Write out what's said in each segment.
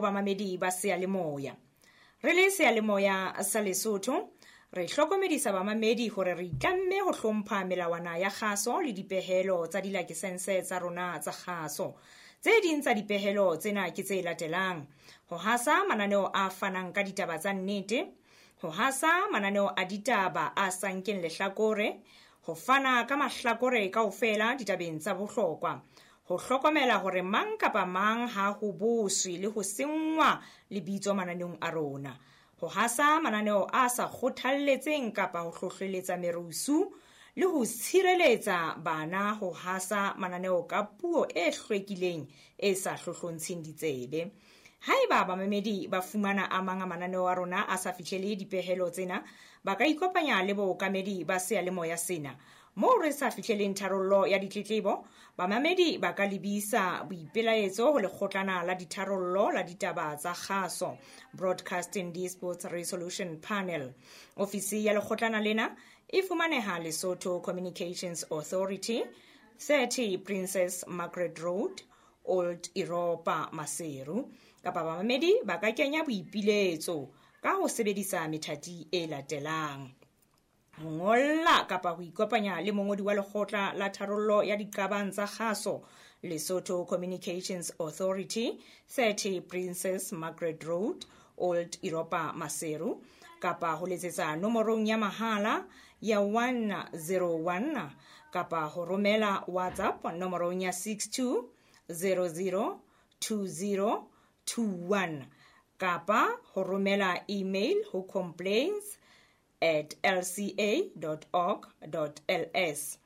Bamamedi ba seyalemoya. Re le seyalemoya sa Lesotho, re hlokomedisa bamamedi hore re itlamme ho hlompha melawana ya kgaso le dipehelo tsa dilakesense tsa rona tsa kgaso. Tse ding tsa dipehelo tsena ke tse latelang: ho hasa mananeo a fanang ka ditaba tsa nnete, ho hasa mananeo a ditaba a sa nkeng lehlakore, ho fana ka mahlakore kaofela ditabeng tsa bohlokwa, ho hlokomela hore mang kapa mang ha ho boswe le ho senngwa lebitso mananeong a rona, ho hasa mananeo a sa kgothalletseng kapa ho hlohleletsa merusu le ho tshireletsa bana ho hasa mananeo ka puo e hlwekileng e sa hlohlontsheng ditsebe. Haeba bamamedi ba fumana a mang a mananeo a rona a sa fihlele dipehelo tsena, ba ka ikopanya le bookamedi ba seyalemoya sena. Moo re sa fihleleng tharollo ya ditletlebo, bamamedi ba ka lebisa boipelaetso ho lekgotlana la ditharollo la ditaba tsa kgaso, Broadcasting Disputes Resolution Panel. Ofisi ya lekgotlana lena e fumaneha Lesotho Communications Authority, 30 Princess Margaret Road, Old Europa, Maseru. Kapa bamamedi ba ka kenya boipiletso ka ho sebedisa methati e latelang: ho ngolla kapa ho ikopanya le mongodi wa lekgotla la tharollo ya diqabang tsa kgaso, Lesotho Communications Authority, 30 Princess Margaret Road, Old Europa, Maseru, kapa ho letsetsa nomorong ya mahala ya 101 kapa ho romela WhatsApp nomorong ya 62 00 20 21 kapa ho romela email ho complaints@lca.org.ls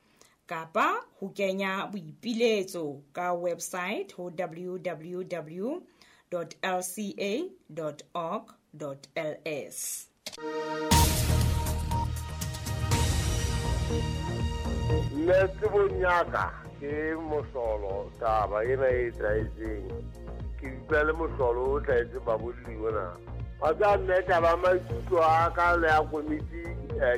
kapa ho kenya boipiletso ka website ho www.lca.org.ls. Nna tsebong ya ka ke mohlolo taba ena e etsahetseng, ke utlwa le mohlolo o tlahetseng babolli ona. Wa tseba mme, taba maikutlo a ka le ya komiti,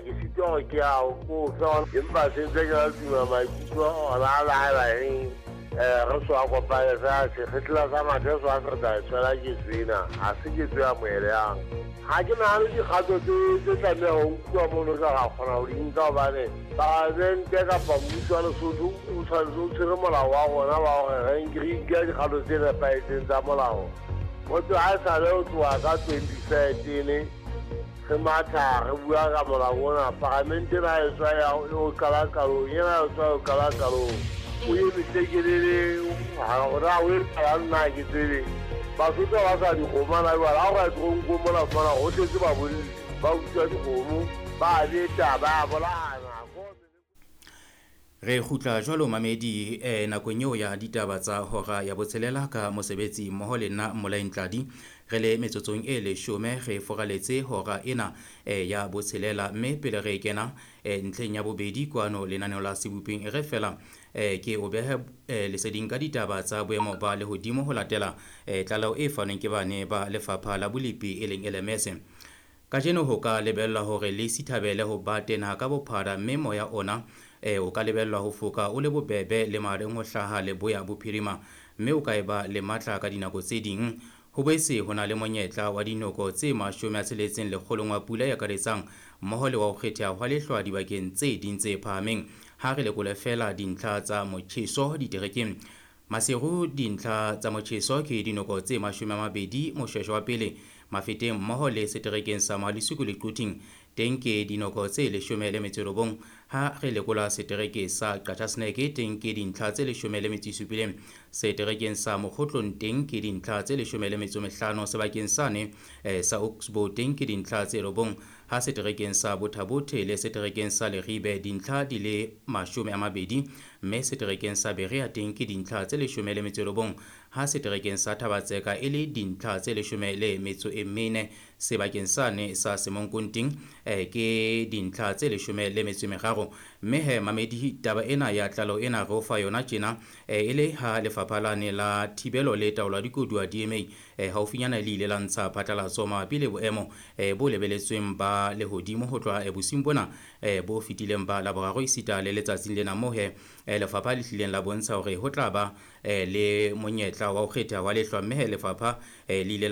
ke sitwa hore ke a ko fe, empa sentse ke la tuma maikutlo ona a laela eng. Re so a kopane fela sekgetla sa mathe so a se re tla e tshwela ketso ena, ha se ketso ya moeleyang. Ha ke nahane dikgato tse tlameha ho nkuwa mono ka ra kgona ho di nka, hobane palamente kapa mmuso wa Lesotho o tshwanetse o tshwere molao wa rona wa hore re nke dikgato tse nepahetseng tsa molao. Motho ha e sale ho tloha ka 2013 re matha re bua ka molao ona, palamente ena e tswa ya o qala qalong, ena e tswa o qala qalong, o eme tlekelele hore o e qala nna ke tsebe. Basotho ba sa dikgomo na jwale, ha o ka toronkong mona fumana ho tletse babolli ba utswa dikgomo, ba beta, ba bolayana. Re kgutla jwalo mamedi, nakong eo ya ditaba tsa hora ya botshelela ka mosebetsi mmoho le nna Mmolai Ntladi. Re le metsotsong e leshome re foraletse hora ena ya botshelela, mme pele re kena ntlheng ya bobedi kwano lenaneo la Sebopeng, e re fela ke o behe leseding ka ditaba tsa boemo ba lehodimo ho latela tlaleho e fanweng ke bane ba lefapha la bolepi e leng LMS. Kajeno ho ka lebellwa hore le sithabele ho ba tena ka bophara, mme moya ona o ka lebellwa ho foka o le bobebe le mahareng ho hlaha leboya bophirima, mme o ka eba le matla ka dinako tse ding. Ho boetse ho na le monyetla wa dinoko tse 60 lekgolong wa pula e akaretsang mmoho le wa ho kgetheha hwa lehlwa dibakeng tse ding tse phahameng. Ha re lekole fela dintlha tsa motjheso diterekeng. Maseru dintlha tsa motjheso ke dinoko tse 20 Moshweshwe wa pele, Mafeteng mmoho le seterekeng sa Mohalesuku le Quthing teng ke dinoko tse 19. Ha re lekola setereke sa Qachaseneke teng ke dintlha tse 17. Seterekeng sa Mokgotlong teng ke dintlha tse 15. Sebakeng sane sa Oxbow teng ke dintlha tse 9. Ha seterekeng sa Bothabothe le seterekeng sa Leribe dintlha di le 20, mme seterekeng sa Berea teng ke dintlha tse 19. Ha seterekeng sa Thabatseka e le dintlha tse 14. Sebakeng sane sa Semonkonting ke dintlha tse 13. Mme he mamedi, taba ena ya tlaleho ena re o fa yona tjena, e le ha lefapha lane la thibelo le taolo ya dikoduwa DMA haufinyana le ile la ntsha phatlalatso mabapi le boemo bo lebeletsweng ba lehodimo ho tloha bosiung bona bo fetileng ba Laboraro esita le letsatsing lena, moo he lefapha le hlileng la bontsha hore ho tla ba le monyetla wa ho kgetha wa lehlwa, mme he lefapha le ile